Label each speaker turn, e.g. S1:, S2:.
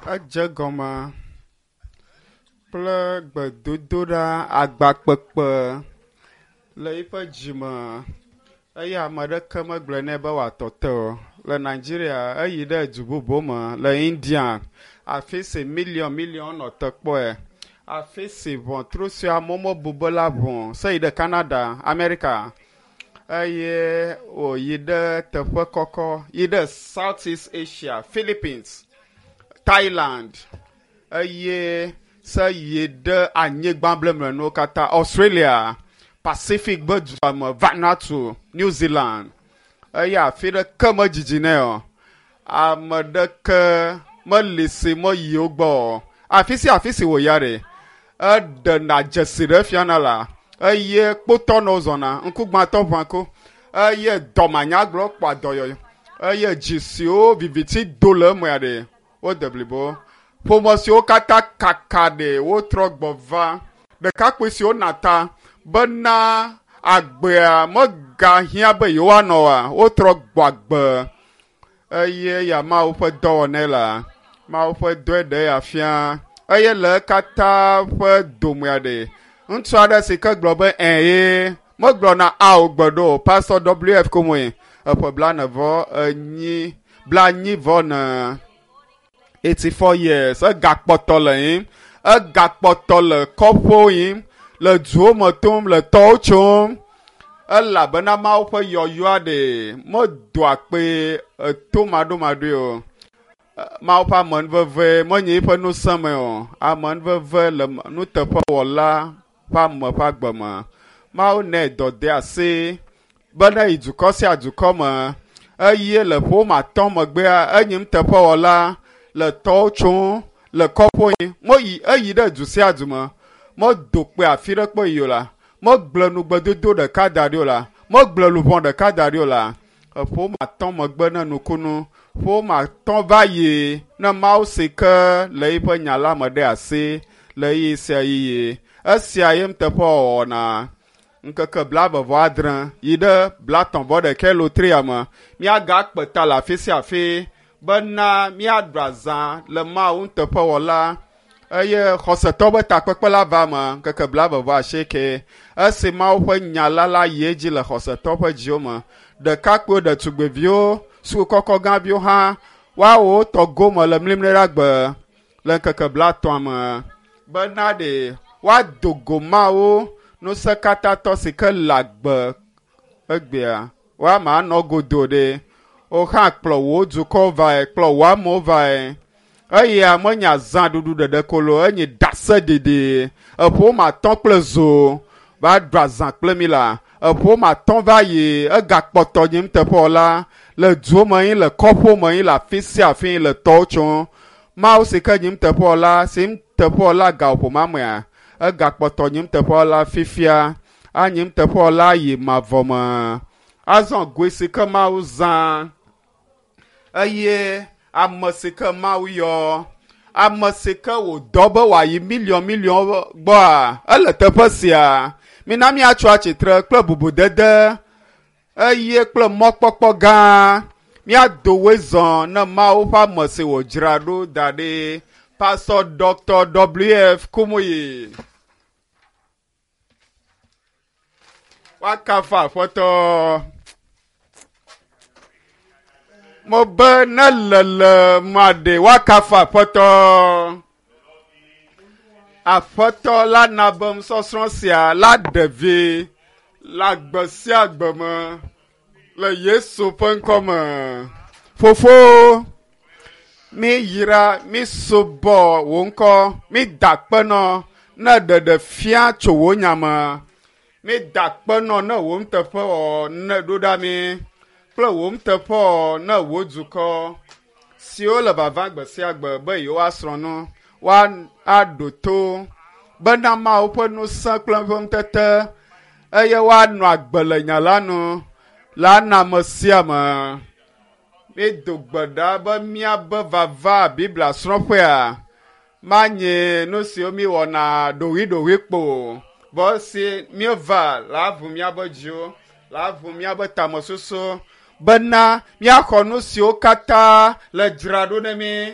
S1: Edze gɔme kple gbedodoɖa agbakpekpe le eƒe dzime eye ame aɖeke megblɔe nɛ be wòatɔ te o. Le Nigeria, eyi ɖe du bubu me le India, afi si miliɔn miliɔn nɔ te kpɔe. Afi si ʋɔtru si amewo mebu be la ʋu se yi ɖe Canada, Amerika eye wòyi ɖe teƒe kɔkɔ yi ɖe South East Asia, Philippines, Thailand eye se yi ɖe anyigba blemlenuwo katã, Australia, Pacific be dua me, Vanuatu, New Zealand eye afi ɖeke medzidzi nɛ o. Ame ɖeke meli si meyi wo gbɔ o. Afi sia afi si wòya ɖe, eɖena dzesi ɖe fiana la eye kpotɔnɔwo zɔna, ŋkugbãtɔ ʋã ko eye dɔmanyagblɔ kpɔa dɔyɔyɔ eye dzi siwo viviti do le emea ɖe wode blibo. Ƒome siwo katã kaka ɖe wotrɔ gbɔ va. Ɖekakpui siwo na ta bena agbea megahiã be yewoanɔ oa, wotrɔ gbɔ agbe eye ya Mawu ƒe dɔwɔnɛ la. Mawu ƒe dɔe ɖe ya fia eye le katã ƒe domea ɖe ŋutsu aɖe si ke gblɔ be ɛ̃ megblɔna ao gbe ɖo o. Pastor WF Kumuyi eƒe blaene vɔ enyi blanyi vɔ ne 84 years egakpɔtɔ le yim egakpɔtɔ le kɔƒewo yim le duwo me tom le tɔwo tsom elabena Mawu ƒe yɔyɔa ɖe medoa kpe eto maɖomaɖoe o. Mawu ƒe amenuveve menye eƒe ŋusẽ me o. Amenuveve le nuteƒewɔla ƒe ame ƒe agbe me. Mawu nɛ dɔdeasi be ne yi dukɔ sia dukɔ me eye le ƒe woame atɔ̃ megbea enyi nuteƒewɔla le tɔwo tsom le kɔƒewo yim. Meyi eyi ɖe du sia du me. Medo kpe afi ɖe kpe yi o la. Megblẽ nugbedodo ɖeka da ɖi o la. Megblẽ luʋɔ ɖeka da ɖi o la. Eƒe woame atɔ̃ megbe ne nukunu. Ƒe woame atɔ̃ va yi ne Mawu si ke le eƒe nya la me ɖe asi le ɣeyiɣi sia ɣeyiɣi. Esia ye nuteƒewɔwɔ wɔna. Ŋkeke blaeve vɔ adre yi ɖe blaetɔ̃ vɔ ɖekɛ lotria me. Míagakpe ta le afi sia afi bena míaɖu azã le Mawu nuteƒewɔla eye xɔsetɔ be takpekpe la va me ŋkeke blaeve vɔ asieke. Esi Mawu ƒe nya la la yi edzi le xɔsetɔ ƒe dziwo me. Ɖekakpuiwo, ɖetugbiviwo, sukukɔkɔ gãviwo hã woawo tɔ gome le mlimli ɖe agbe le ŋkeke blaetɔ̃a me bena ɖe woado go Mawu ŋusẽkatãtɔ si ke le agbe egbea. Woama anɔ godo ɖe. Wo hã kplɔ wò dukɔ vae, kplɔ wò amewo vae. Eya menye azãɖuɖu ɖeɖe ko lo, enye ɖaseɖiɖi. Eƒe woame atɔ̃ kple zo va ɖu azã kple mi la. Eƒe woame atɔ̃ va yi egakpɔtɔ nye nuteƒewɔla le duwo me yin, le kɔƒewo me yin, le afi sia afi yin, le tɔwo tsom. Mawu si ke nye nuteƒewɔla, si nuteƒewɔla gaƒoƒo ma mea, egakpɔtɔ nye nuteƒewɔla fifia, anye nuteƒewɔla yi mavɔ me. Azɔ goe si ke Mawu zã eye ame si ke Mawu yɔ, ame si ke wòdɔ be wòayi miliɔn miliɔn gbɔa, ele teƒe sia. Mina míatso atsitre kple bubudede eye kple mɔkpɔkpɔ gã. Míado woe zɔ ne Mawu ƒe ame si wòdzra ɖo da ɖi. Pastor Dr. W.F. Kumuyi. Woakafu Aƒetɔ. Mebe ne lele ma ɖe woakafu Aƒetɔ. Aƒetɔ la na be nusɔsrɔ̃ sia la ɖe vi le agbe sia agbe me le Yesu ƒe ŋkɔ me. Fofo, mi yra, mi subɔ wò ŋkɔ, mi da akpe nɔ ne ɖeɖe fia tso wò nya me. Mi da akpe nɔ ne wò nuteƒewɔwɔ ne ɖo ɖa mi kple wò nuteƒewɔwɔ ne wò dukɔ siwo le vava gbe sia gbe be yewoasrɔ̃ nu, woaɖo to bena Mawu ƒe ŋusẽ kple eƒe ŋutete eye woanɔ agbe le nya la nu la na ame sia ame. Mído gbe ɖa be míabe vava Biblia srɔ̃ƒea manye nu siwo míewɔna ɖoɖoeɖoɖoe kpo o. Vɔ esi míeva la ʋu míaƒe dziwo, la ʋu míaƒe tamesusu bena míaxɔ nu siwo katã le dzra ɖo ne mí.